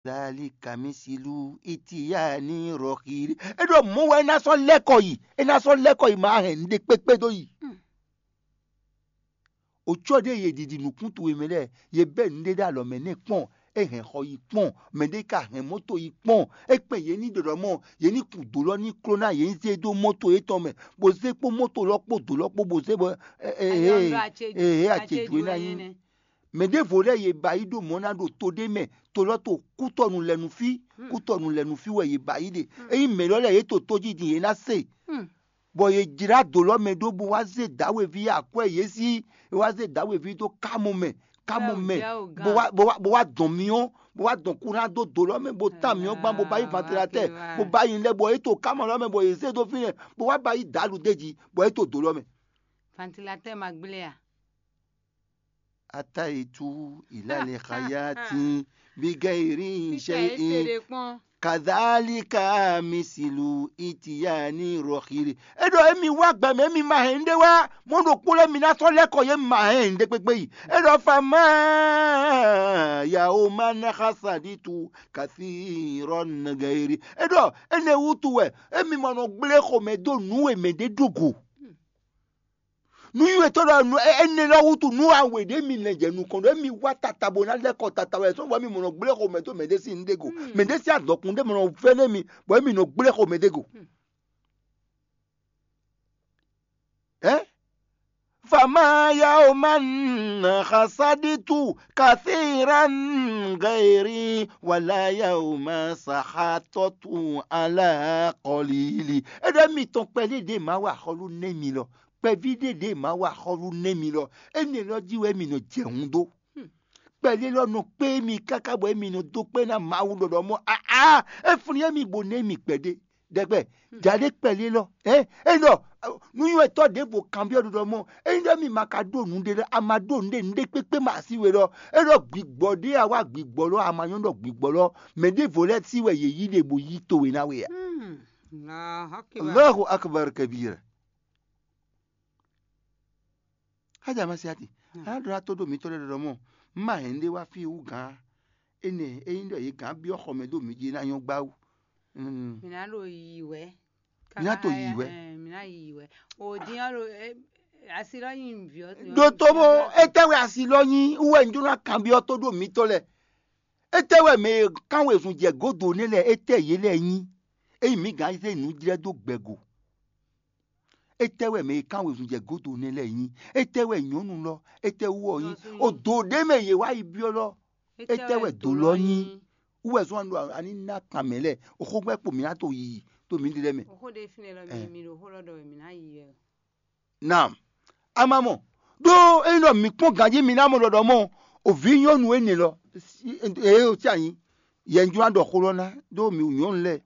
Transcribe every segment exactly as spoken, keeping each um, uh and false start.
Zali kamisilu itiyani rɔxiri. E ɖɔ mɔ̌ wɛ é ná sɔ́ lɛ́ kɔ yi, é ná sɔ́ lɛ́ kɔ yi ma hɛn nǔɖé kpékpé dó yi. Ocyɔ ɖé ye ɖiɖi nǔkún towe mɛ lɛ́ɛ, ye bɛ́ nǔɖé ɖó alɔ mɛ nɛ́ kpɔ́n, é hɛn xɔ yi kpɔ́n, mɛ ɖé ka hɛn mɔ̌to yi kpɔ́n, é kpɛn yě ní ɖɔɖɔ mɔ, yě ní kun dǒ lɔ ní kló ná yě ní zé dó mɔ́to yětɔn mɛ, bó zé kpó mɔ́to lɔ kpó dǒ lɔ kpó bó zé bɔ ɛ ɛ Ayɔ́nglɔ́ ɛ acéjú, ɛ acéjú é ná acéjú nyí. Énɛ́. Mɛ ɖěvo lɛ́ɛ ye ba yi ɖó mɔ̌ ná ɖo to ɖé mɛ, to lɔ to kútɔnu lɛ nu fí, kútɔnu lɛ nu fí wɛ ye ba yi ɖe. Ényí mɛ lɔ lɛ́ɛ yě to tó jí din yě ná se. Bɔ yě jlá dǒ lɔ mɛ ɖó bó wá zé dǎwe ví akwɛ́ yě sí, é wá zé dǎwe ví dó kámɔ mɛ, kámɔ mɛ, bó wá bó wá bó wá dɔn myɔ, bó wá dɔn kúná dó dǒ lɔ mɛ, bó tán myɔ gbán, bó ba yi vantilatɛ́, bó ba yi lɛ bɔ é to kámɔ lɔ mɛ bɔ yě zé dó fínɛ́, bó wá ba yi dǎlu d'é jí, bɔ é to dǒ lɔ mɛ. Vantilatɛ́ ma gblé a? Ataitu ilale xayati bigayiri ṣeyi kadhalika misilu itiyani rɔxiri. E ɖɔ emi wá gbɛ mɛ, emi ma hɛn ɖé wá, mɔ ɖokpó lɛ́ɛ mi ná sɔ́ lɛ́ kɔ yě ma hɛn ɖé kpékpé yi. E ɖɔ fama yawo ma na xasaditu kasi rɔ nagairi. E ɖɔ ene wutu wɛ emi mɔ nɔ gblé xomɛ dó nǔ e mɛ ɖé ɖó go. Nú nywɛ́tɔ́ ɖɔ nú énɛ́ lɔ wútu nú awe ɖé mi lɛ́ jɛ nukɔn ɖɔ émi wá tata bó ná lɛ́ kɔ tata wɛ sɔ́ bɔ émi mɔ nɔ gblé xomɛ dó mɛ ɖé sín nǔ ɖé go. Mɛ ɖé sín adɔkun ɖé mɔ nɔ vɛ́ nú émi bɔ émi nɔ gblé xomɛ ɖé go. Ɛ? Fama yawo ma nà xasaditu kathiran gairi wala yawo ma sahatɔtu ala kɔlili. E ɖɔ émi tɔn kpɛɖé ɖě ma wa xɔlu nɛ́ mi lɔ, kpɛví ɖé ɖě ma wa xɔlu nɛ́ mi lɔ, énɛ́ lɔ jí wɛ mi nɔ jɛ hun dó. Kpɛɖé lɔ nɔ kpé mi káká bɔ émi nɔ dó kpé ná Mawu ɖɔɖɔ mɔ aa é flín émi bó nɛ́ mi kpɛɖé. Ɖɛkpɛ jaɖé kpɛɖé lɔ ɛ é ɖɔ nú nywɛ́tɔ́ ɖěvo kanbyɔ́ ɖɔɖɔ mɔ ényí ɖɔ mi ma ka ɖó nǔ ɖé lɔ a ma ɖó nǔ ɖé nǔ ɖé kpékpé ma así we lɔ é ɖɔ gbigbɔ ɖé a wá gbigbɔ lɔ a ma nyɔ́ ɖɔ gbigbɔ lɔ mɛ ɖěvo lɛ́ɛ sí wɛ yě yí ɖe bó yí towe ná we a. Allahu akbar kabira. Xájà ma se ati a nǎ ɖó ná tó ɖo mitɔ́ lɛ́ɛ ɖɔɖɔ mɔ un ma hɛn ɖé wá fí wú gǎn énɛ́ ényí ɖɔ yě gǎn byɔ́ xɔ mɛ ɖó mi jí é ná nyɔ́ gbá wú. Mǐ ná ɖo yiyi wɛ. Mǐ ná to yiyi wɛ. Mǐ ná yiyi wɛ. O din ɔ́ ɖo asi lɔ nyi nǔví ɔ́. Ɖo tó bó étɛ́ wɛ asi lɔ nyi wú wɛ un jló ná kanbyɔ́ tó ɖo mitɔ́ lɛ́ɛ. Étɛ́ wɛ mɛ e kán wezun jɛ gǒdo nɛ́ lɛ́ɛ étɛ́ yě lɛ́ɛ nyí? Ényí mǐ gǎn zé nǔ jlɛ́ dó gbɛgo. Étɛ́ wɛ mɛ e kán wezun jɛ gǒdo nɛ́ lɛ́ɛ nyí? Étɛ́ wɛ nyɔ̌nu lɔ? Étɛ́ wú ɔ́ nyí? O dǒ ɖé mɛ yě wá yi byɔ́ lɔ. Étɛ́ wɛ dǒ lɔ nyí? Wú wɛ zɔ́n ɖo aní ná kan mɛ lɛ́ɛ. Oxó gbɛ́ kpo mǐ ná to yiyi to mǐ ɖe lɛ́ɛ mɛ. Oxó ɖé fínɛ́ lɔ mi mi ɖo xó lɔ ɖɔ wɛ mǐ ná yi wɛ. Naam. Ama mɔ ɖó ényí ɖɔ mǐ kpɔ́n ganjí mi ná mɔ ɖɔɖɔ mɔ òvǐ nyɔ́nu énɛ́ lɔ. Eye o tí anyi yɛ un jló ná ɖɔ xó lɔ ná ɖó mi nyɔ̌nu lɛ́ɛ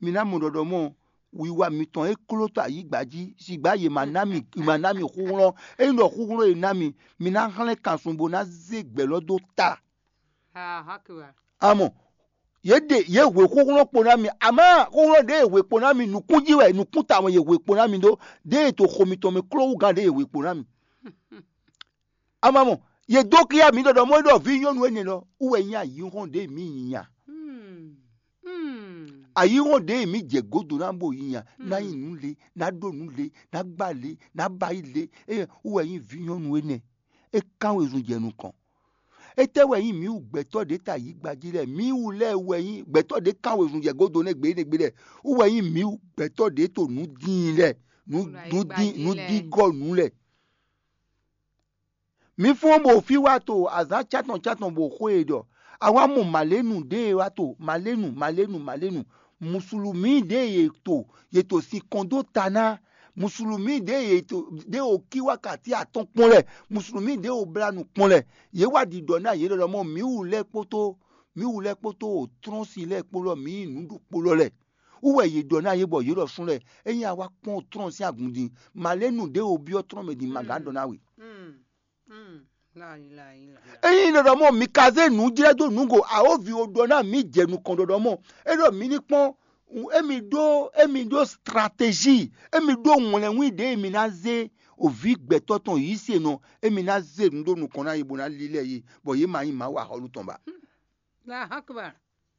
mi ná mɔ ɖɔɖɔ mɔ wiwa mitɔn e kló to ayǐgba jí, sigba yě ma ná mi ma ná mi xúxlɔ́n. Ényí ɖɔ xúxlɔ́n e ná mi, mi ná hlɛ́n kansun bó ná zé gbɛ̌ lɔ dó ta. Amɔ yě ɖe yě hwe xúxlɔ́n kpo ná mi, amá xúxlɔ́n ɖě e hwe kpo ná mi nǔkún jí wɛ nǔkún tawun e yě hwe kpo ná mi ɖó, ɖě e to xo mitɔn mɛ kló wú gán ɖě e hwe kpo ná mi. Amá mɔ yě dó kíá mi ɖɔɖɔ mɔ ɖɔ vǐ nyɔ́nu énɛ́ lɔ wú wɛ nyí ayǐhɔ́n ɖě mǐ nyi nya. Ayǐhɔ́n ɖě mǐ jɛ gǒdo ná bo yi nya, ná nyi nǔ le, ná ɖó nǔ le, ná gbá le, ná ba yí le, eye wú wɛ nyí vǐ nyɔ́nu énɛ́. É kán wezun jɛ nukɔn. Étɛ́ wɛ nyí mǐ wú gbɛtɔ́ ɖě ta yǐgba jí lɛ́ɛ? Mǐ wú lɛ́ɛ wɛ nyí gbɛtɔ́ ɖě kán wezun jɛ gǒdo nɛ́ gbe énɛ́ gbe lɛ́ɛ. Wú wɛ nyí mǐ wú gbɛtɔ́ ɖě to nǔ dín lɛ́ɛ, nǔ nǔ dín nǔ dín gɔ́ nǔ lɛ́ɛ. Mǐ fɔ́n bɔ fí wá to azǎn cátɔn cátɔn bɔ xó e ɖɔ a wá mɔ mǎlénu ɖě e wá to mǎlénu mǎlénu mǎlénu. Musulumí ɖě e yě to yě to sin kɔn dó ta ná. Musulumí ɖě e yě to ɖě o kí wákàtí atɔ́ɔ́n kpɔ́n lɛ́ɛ. Musulumí ɖě o blá nǔ kpɔ́n lɛ́ɛ. Yě wá ɖiɖɔ ná yě ɖɔɖɔ mɔ mǐ wú lɛ́ɛ kpótó mǐ wú lɛ́ɛ kpótó o trɔ́n sin lɛ́ɛ kpó lɔ mǐ nyí nǔ ɖokpó lɔ lɛ́ɛ. Wú wɛ yě ɖɔ ná yě bɔ yě ɖɔ sún lɛ́ɛ ényí a wá kpɔ́n trɔ́n sín agun din mǎlénu ɖě o byɔ́ trɔ́n mɛ din ma gǎn ɖɔ ná we. Ényí ɖɔɖɔ mɔ mi ka zé nǔ jlɛ́ dó nǔgo awǒvi o ɖɔ ná mǐ jɛ nukɔn ɖɔɖɔ mɔ é ɖɔ mǐ ní kpɔ́n émi ɖó émi ɖó stratégie émi ɖó wlɛnwí ɖě mi ná zé òví gbɛtɔ́ tɔn yǐ se nɔ émi ná zé nǔ ɖó nukɔn ná yě bó ná lílɛ́ yě bɔ yě ma nyí Mawu axɔ́lú tɔn ba.